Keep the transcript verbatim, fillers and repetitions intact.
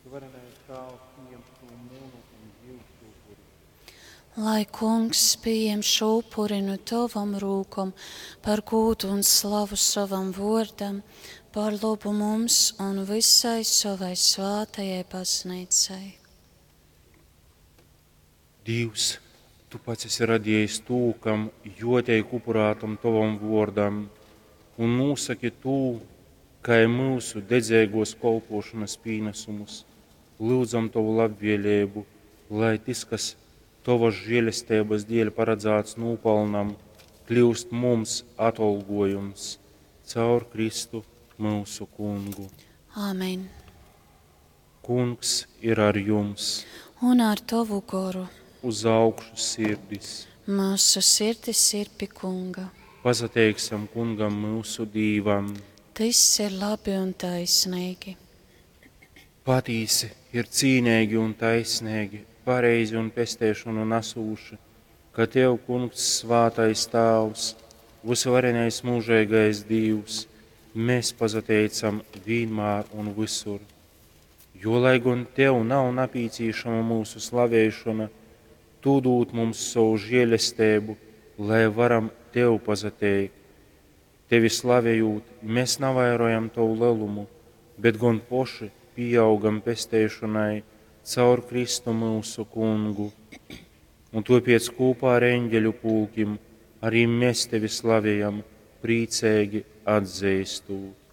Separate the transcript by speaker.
Speaker 1: Vysuvarenais Tāvs pījem šū munu un jyusu upuri.
Speaker 2: Lai Kungs pījem šo upuri nu tovom rūkom par gūdu un slavu sovam vōrdam, par lobu mums un visai sovai svātajai baznīcai.
Speaker 1: Dīvs, tu pats esi radiejis tū, kam juoteik upurātam tovam vuordam, un nūsaki tū, kai myusu dedzeiguos kolpuošonys pīnasumus, lyudzam tovu labvieleibu, lai tys, kas tovys žielesteibys dieļ paradzāts nūpalnam, kliust mums atolguojums caur Kristu myusu Kungu.
Speaker 2: Āmen.
Speaker 1: Kungs ir ar jums!
Speaker 2: Un ar tovu goru.
Speaker 1: Uz augšu sirdis!
Speaker 2: Mūsu sirdis ir pi Kunga.
Speaker 1: Pasateiksim Kungam myusu Dīvam!
Speaker 2: Tys ir labi un taisnīgi.
Speaker 1: Patīsi ir cīneigi un taisneigi, pareizi un pesteišonu nasūši, ka Tev, Kungs, svātais Tāvs, vysuvarenais mūžeigais Dīvs, mēs pasateicam vīnmār un visur. Jo, lai gon Tev nav napīcīšama mūsu slavēšana, Tu dūd mums savu žēlesteibu, lai varam Tev pasateikt. Tevi slavējot, mēs navairojam Tavu lelumu, bet gon poši pieaugam pesteišanai caur Kristu mūsu Kungu. Un tāpēc kopā ar eņģeļu pulkim arī mēs Tevi slavējam, priecīgi atzīstot.